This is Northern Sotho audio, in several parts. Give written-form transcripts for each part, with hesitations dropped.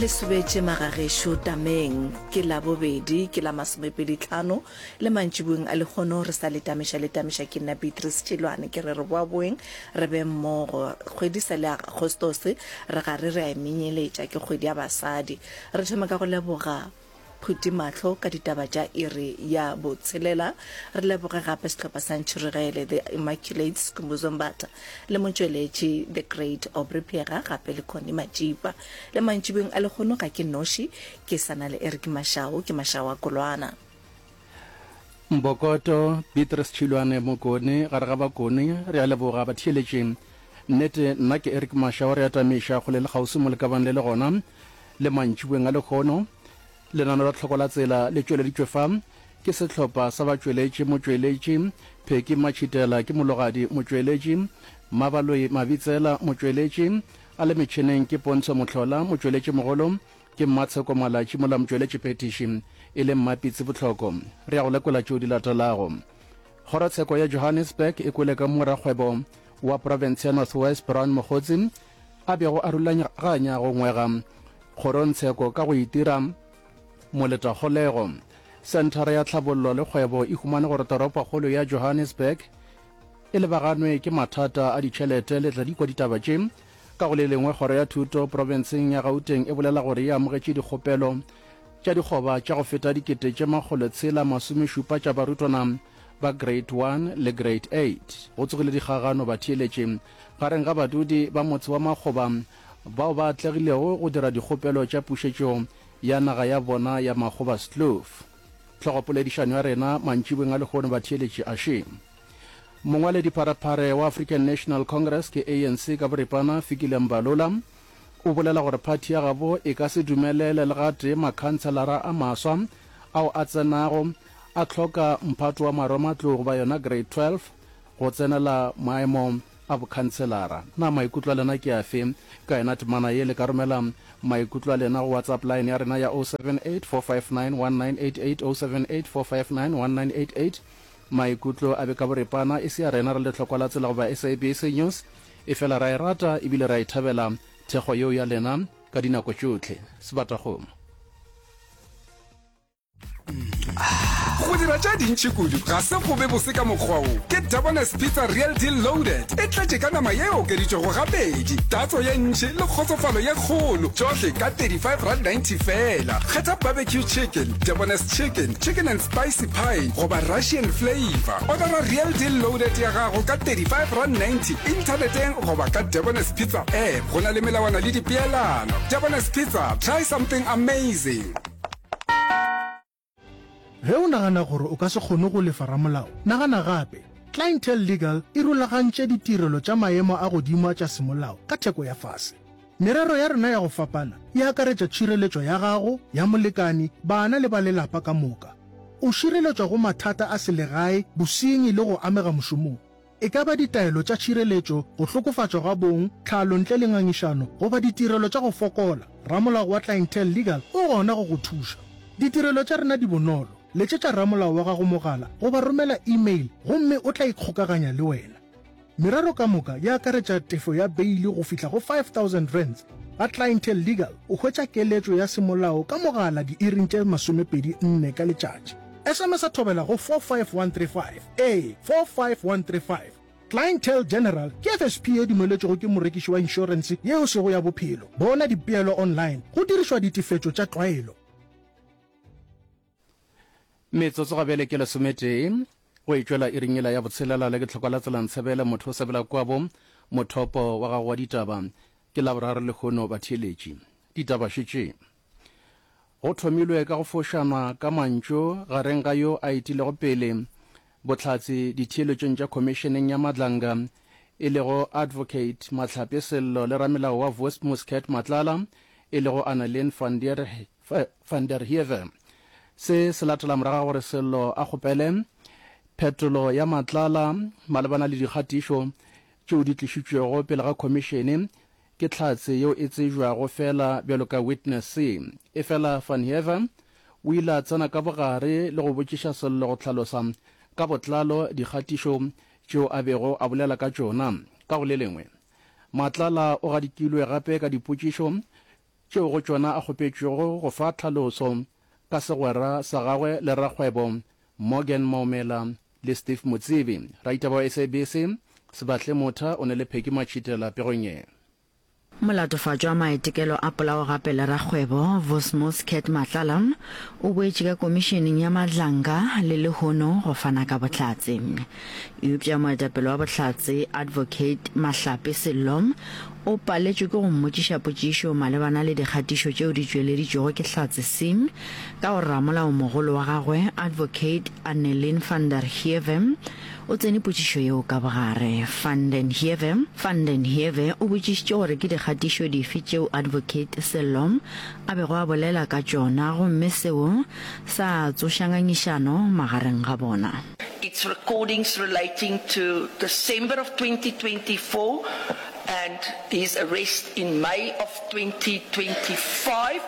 Le sobetše magagešo tameng. Ke Labobedi, ke la masomepeditlhano le mantšiboeng a lehono re sa le tamiša le tamiša ke nna Beatrice Tšilwane ke re re boaboeng re be mmogo. Kgwedi sa le Agostose re gare re a e menyeletša ke kgwedi ya basadi. Re thoma ka go leboga Phuti mahlo ka ditaba tša iri ya botshelela. Re leboge gape sehlopha sa Ntšhirigele, The Immaculates, Skhumbuzo Mbatha le motšweletši The Great Aubrey Phega gape le Connie Matšipa. Le mantšibeng a lehono ga ke noši, ke sa na le Eric Mashau, ke Mashau a Kolwana. Mbokoto, Beatrice Tšhilwane Mokone, gare ga Bakone, re a leboga batheeletši. Nnete, nna ke Eric Mashau, re atamiša kgole le kgauswi mo le ka bang le le gona. Le mantšiboeng a lehono, lenano la Tlhoko la Tsela le tšweleditšwe fa ke sehlopha sa batšweletši, motšweletši, Pheki Matšhitela ke mologadi, motšweletši, Mmabaloi Mabitsela, motšweletši, a le metšhineng ke Pontsho Mohlola, motšweletšimogolo ke Mmatsheko Malatši mola motšweletšiphethiši e le Mmapitsi Bohloko. Re ya go lekola tšeo di latelago. Kgorotsheko ya Johannesburg e kwele ka mo rakgwebo wa profense ya North West Brown Mogotsi a bego a rulaganya go ngwega kgorongtsheko ka go itira moletakgolego. Senthara ya Tlhabollo le Kgwebo e humane gore toropokgolo ya Johannesburg e lebaganwe ke mathata a ditšhelete. Le tla di kwa ditaba tše. Ka go le lengwe, Kgoro ya Thuto profenseng ya Gauteng e bolela gore e amogetše dikgopelo tša dikgoba tša go feta 670 tša barutwana ba Grade 1 le Grade 8. Go tsogile dikgagano batheeletši gareng ga badudi ba motse wa Makgoba bao ba atlegilego go dira dikgopelo tša pušetšo ya naga ya bona ya Makgobaskloof. Hlogopoledišano ya rena mantšiboeng a lehono batheeletši a še. Mongwaledipharephare wa African National Congress ke ANC ka boripana Fikile Mbalula o bolela gore phathi ya gabo e ka se dumelele le gatee makhanselara a maswa ao a tsenago a hloka mphato wa marematlou goba yona grade 12 go tsenela maemo a bokhanselara. Na maikutlo a lena ke afe ka yona temana ye? Le ka romela maikutlo a lena go WhatsApp line ya rena ya 078 459 1988, 078 459 1988. Maikutlo a be ka boripana, e se a rena re le Tlhokwa la Tsela goba SABC News, efela ra e rata ebile ra e thabela thekgo yeo ya lena ka dinako tšohle. Sebatakgomo. Go dira tše dintši kudu ga se go be bose ka mokgwa wo. Ke Debonair's Pizza Real Deal Loaded. E tletše ka nama ye e okeditšwego gabedi, tatso ye ntši le kgotsofalo ye kgolo, tšohle ka R35.90 feela. Kgetha barbecue chicken, Debonair's chicken, chicken and spicy pie goba Russian flavour. Odara Real Deal Loaded ya gago ka R35.90 inthaneteng goba ka Debonair's Pizza app. Go na le melawana le dipeelano. Debonair's Pizza, try something amazing. Ge o nagana gore o ka se kgone go lefa ramolao, nagana gape. Clientele Legal e rulagantše ditirelo tša maemo a godimo tša semolao ka theko ya fase. Merero ya rena ya go fapana e akaretša tšhireletšo ya gago, ya molekani, bana le ba lelapa ka moka. O šireletšwa go mathata a selegae, bosenyi le go amega mošomong. E ka ba ditaelo tša tšhireletšo, go hlokofatšwa ga bong, tlhalo ntle le ngangišano, goba ditirelo tša go fokola, ramolao wa Clientele Legal o gona go go thuša. Ditirelo tša rena di bonolo, letšetša ramolao wa gago mogala goba romela e-mail gomme o tla ikgokaganya le wena. Merero ka moka e akaretša tefo ya beili go fihla go R5000. Ga Clientele Legal o hwetša keletšo ya semolao ka mogala diiring tše 24 ka letšatši. SMS-a thobela go 45135. Ee, 45135. Clientele General ke FSP ye dumeletšwego ke morekiši wa inšorense ye e sego ya bophelo. Bona dipeelo online go dirišwa ditefetšo tša tlwaelo. Metsotso ga bjale ke lesometee go e tšwela iring yela ya botshelela le ke tlhokwa la tsela ntshebele motho o sebela kwabo mothopo wa gago wa ditaba ke laboraro lehono batheeletši ditaba šetše Go thomilwe ka go fošanwa ka mantšu gareng ga yo a etilego pele bohlatse ditheeletšong tša Khomišeneng ya Madlanga e lego Advocate Mahlape Sello le ramelao wa Vos Muscat Matlala e lego Annelien van der van der Heever. Se se latela morago ga gore Sello a kgopele phetolo ya Matlala malebana le dikgatišo tšeo di tlišitšwego pele ga khomišene Ke hlatse yeo e tsebjwago feela bjalo ka Witness C. Efela Van Heever o ile a tsena ka bogare le go botšiša Sello go hlalosa ka botlalo dikgatišo tšeo a bego a bolela ka tšona. Ka go le lengwe, Matlala o gadikilwe gape ka dipotšišo. tšeo go tšona a kgopetšwego go fa tlhaloso ka segwera sa gagwe le rakgwebo Morgan Maumela le Steve Motsebi. Raitaba wa SABC, Sebahle Motha o ne le Peggy Matšhitela pegong ye. Molatofatšwa wa maitekelo a polao gape le rakgwebo, Vosmos Cat Matlala, o boetše ka komišeneng ya Madlanga le lehono go fana ka bohlatse. Eupša moetapele wa bohlatse, Advocate Mahlape Sello, o paletšwe ke go mmotšiša potšišo malebana le dikgatišo tšeo di tšweleditšwego ke Hlatse Singh ka gore ramolaomogolo wa gagwe, Advocate Annelien van der Heever, O tsene potšišo yeo ka bogare. Van den Heever, Van den Heever o botšišitše gore ke dikgatišo dife tšeo Advocate Sello a bego a bolela ka tšona gomme seo sa tsoša ngangišano magareng ga bona. Its recordings relating to December of 2024 and his arrest in May of 2025.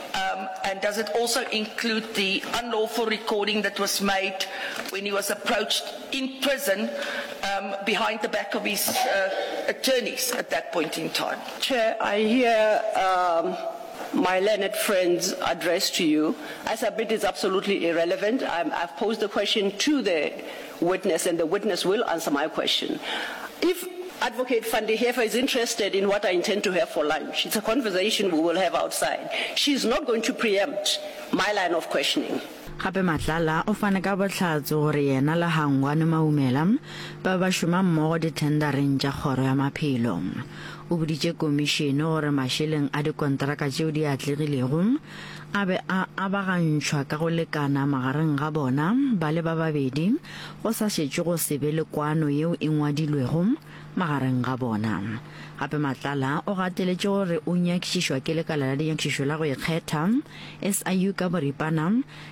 Um, and does it also include the unlawful recording that was made when he was approached in prison um, behind the back of his uh, attorneys at that point in time? Chair, I hear um, my learned friend's address to you. I submit it's absolutely irrelevant. I'm, I've posed the question to the witness, and the witness will answer my question. If Advocate van der Heever is interested in what I intend to have for lunch, it's a conversation we will have outside. She's not going to preempt my line of questioning. Gape Matlala o fane ka bohlatse gore yena le Hangwani Maumela ba be ba šoma mmogo dithendareng tša Kgoro ya Maphelo. O boditše komišene gore mašeleng a dikontraka tšeo di atlegilego a be a abagantšhwa ka go lekana magareng ga bona ba le ba babedi go sa šetšwe go se be le kwano yeo e ngwadilwego magareng ga bona. Gape Matlala o gateletše gore o nyakišišwa ke Lekala la Dinyakišišo la go Ikgetha, SIU ka boripana,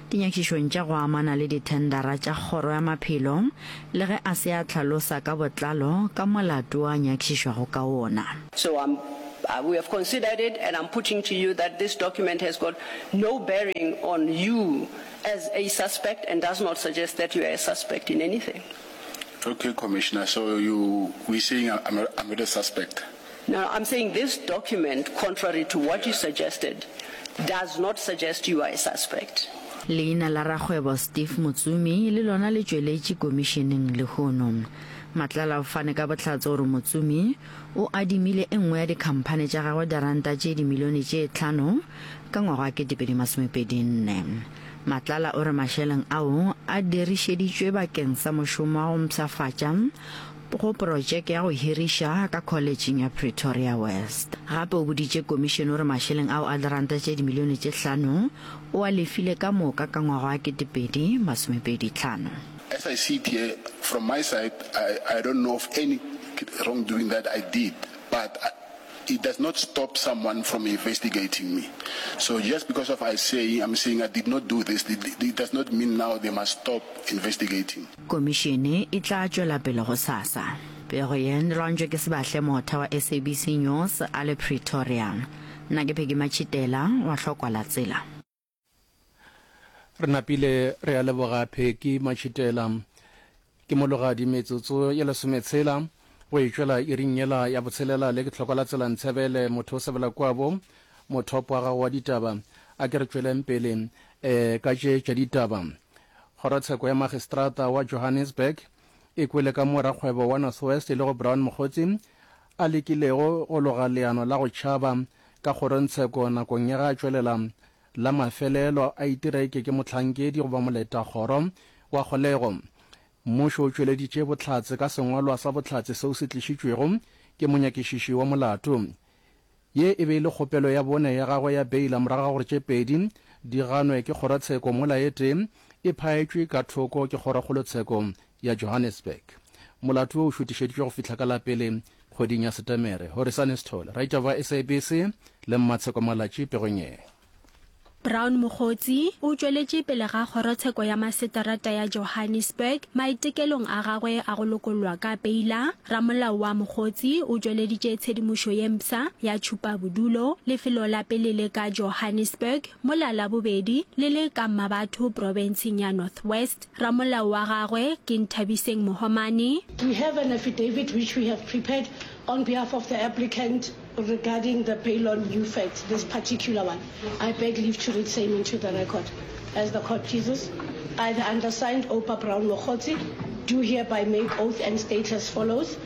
dinyakišišong tša go amana le dithendara tša Kgoro ya Maphelo, le ge a se a hlalosa ka botlalo ka molato wo a nyakišišwago ka wona. So I'm, we have considered it and I'm putting to you that this document has got no bearing on you as a suspect and does not suggest that you are a suspect in anything. Okay, Commissioner, so you, we saying I'm not, I'm not a suspect? No, I'm saying this document, contrary to what you suggested, does not suggest you are a suspect. Leina la rakgwebo Steve Motsumi le lona le tšweletše komišeneng lehono. Matlala o fane ka bohlatse gore Motsumi o adimile e nngwe ya dikhamphane tša gagwe diranta tše dimilione tše tlhano ka ngwaga wa 2024. Matlala o re mašeleng ao a dirišeditšwe bakeng sa mošomo wa go mpshafatša go protšeke ya go hiriša ka Kholetšeng ya Pretoria West. Gape o boditše komišene gore mašeleng ao a diranta tše dimilione tše hlano o a lefile ka moka ka ngwaga wa 2025. As I sit here, from my side, I, I don't know of any wrongdoing that I did, but I, it does not stop someone from investigating me. So just because of I saying, I'm saying I did not do this, it, it does not mean now they must stop investigating. Komišene e tla tšwela pele gosasa. Pego ye e lwantšwe ke Sebahle Motha wa SABC News a le Pretoria. Nna ke Peggy Matšhitela wa Hlokwa la Tsela. Re napile re a leboga Pheki Matšhitela. Ke mologadi metsotso ye lesometshela go e tšwela iring yela ya botshelela le ke hlokwa la tsela Ntshebele motho o sebela kwabo mothopo wa gago wa ditaba. A ke re tšweleng pele um ka tše tša ditaba. Kgorotsheko ya Magistrata wa Johannesburg e kwele ka mo rakgwebo wa North West e lego Brown Mogotsi a lekilego go loga leano la go tšhaba ka kgorongtsheko nakong ya ge a tšwelela la mafelelo a itira eke ke mohlankedi goba moletakgoro wa kgolego. Mmušo o tšweleditše bohlatse ka sengwalwa sa bohlatse seo se tlišitšwego ke monyakišiši wa molato. Ye e be e le kgopelo ya bone ya gagwe ya beila morago ga gore tše pedi di ganwe ke kgorotsheko mola e tee e phaetšwe ka thoko ke kgorokgolotsheko ya Johannesburg. Molato wo o šutišeditšwe go fihla ka la pele kgweding ya Setemere. Horisane Sithole, raitaba wa SABC le Mmatsheko Malatji pegong ye. Brown Mogotsi o tšweletše pele ga kgorotsheko ya maseterata ya Johannesburg maitekelong a gagwe a go lokollwa ka peila. Ramolao wa Mogotsi o tšweleditše tshedimošo ye mpsha ya tšhupabodulo, lefelo la pele le ka Johannesburg mola la bobedi le le ka Mmabatho profenseng ya North West. Ramolao wa gagwe ke Nthabiseng Mohomane. We have an affidavit which we have prepared on behalf of the applicant. regarding the bail on new facts, this particular one. I beg leave to read same into the record. As the court pleases, I, the undersigned Oupa Brown Mogotsi, do hereby make oath and state as follows.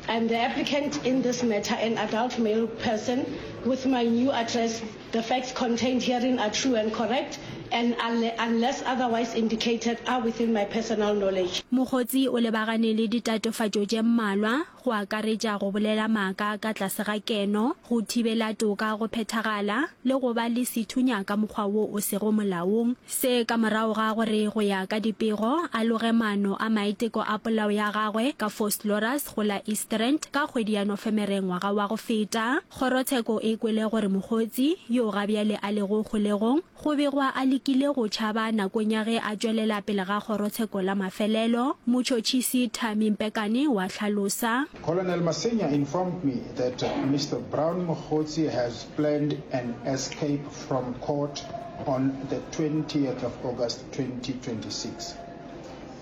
I am the applicant in this matter, an adult male person with my new address. The facts contained herein are true and correct and unless otherwise indicated are within my personal knowledge. Mogotsi o lebagane le ditatofatšo tše mmalwa, go akaretša go bolela maaka ka tlase ga keno, go thibela toka go phethagala, le go ba le sethunya ka mokgwa wo o sego molaong. Se ka morago ga gore go ya ka dipego, a loge maano a maiteko a polao ya gagwe ka Vosloorus go la East Rand ka kgwedi ya Nofemere ngwaga wa go feta. Kgorotsheko e kwele gore Mogotsi, yo ga bjale a lego kgolegong, go begwa a lekile go tšhaba nakong ya ge a tšwelela pele ga kgorotsheko la mafelelo. Motšhotšhisi Thami Mpekane wa hlalosa. Colonel Masenya informed me that Mister Brown Mogotsi has planned an escape from court on the 20th of August 2026.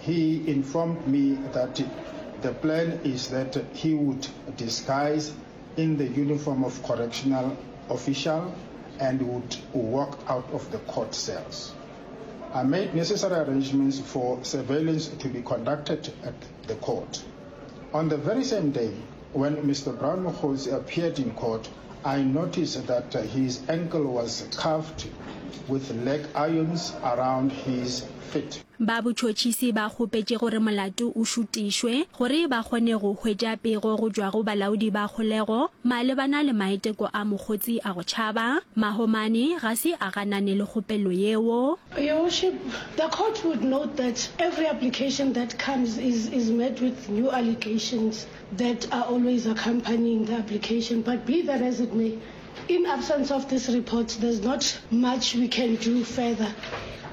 He informed me that the plan is that he would disguise in the uniform of correctional official and would walk out of the court cells. I made necessary arrangements for surveillance to be conducted at the court. On the very same day, when Mr. Brown Mogotsi appeared in court, I noticed that his ankle was cuffed with leg irons around his feet. Ba botšhotšhisi ba kgopetše gore molato o šutišwe gore ba kgone go hwetša pego go tšwa go balaodi ba kgolego malebana le maiteko a mokgotsi a go tšhaba. Mahomane ga se a ganane le kgopelo yeo. Your Worship, the court would note that every application that comes is, is met with new allegations that are always accompanying the application, but be that as it may, In absence of this report, there's not much we can do further.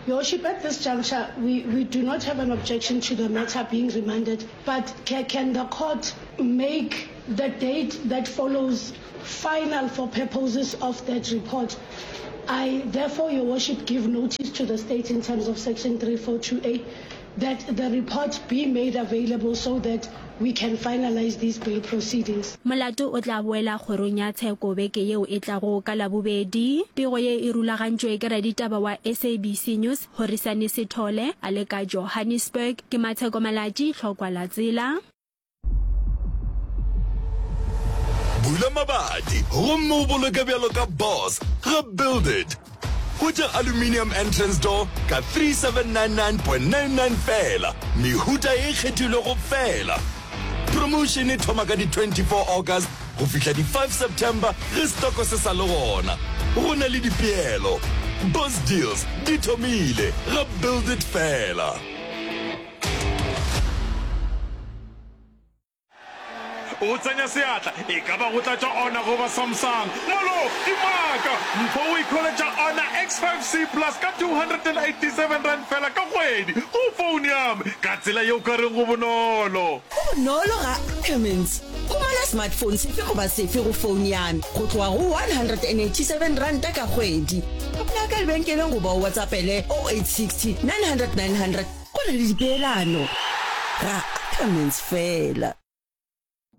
Your Worship, at this juncture, we, we do not have an objection to the matter being remanded, but can, can the court make the date that follows final for purposes of that report? I therefore, Your Worship, give notice to the state in terms of Section 342A that the report be made available so that we can finalize these bail proceedings. Molato o tla boela kgorong ya tsheko beke yeo e tlago ka Labobedi. Pego ye e rulagantšwe ke raditaba wa SABC News, Horisani Sithole, a le ka Johannesburg. Ke Matsheko Malatji, Tlhokwa la Tsela. Bula mabati gomme o boloke bjalo ka boss ga Build It. Hwetša aluminium entrance door ka 3799.99 feela, mehuta e kgethilwego feela. Promotion e thoma ka di 24 August go fihla di 5 September ge stoko se sa le gona. Go na le dipeelo. Boss Deals di thomile ga Build It feela. O tsenya seatla, e ka ba go tlatša Honor goba Samsung. Molo, dimaka! Mpho o ikholetša Honor X5C Plus ka R287 feela ka kgwedi go phone ya me, ka tsela ye o ka reng go bonolo. Go bonolo ga Ackermans. Humana smartphone sefe goba sefe go phone ya me go tloga go R187 ka kgwedi. Apply ka lebenkeleng goba o WhatsAppele 0860 900 900 Go na le dipeelano ga Ackermans fela.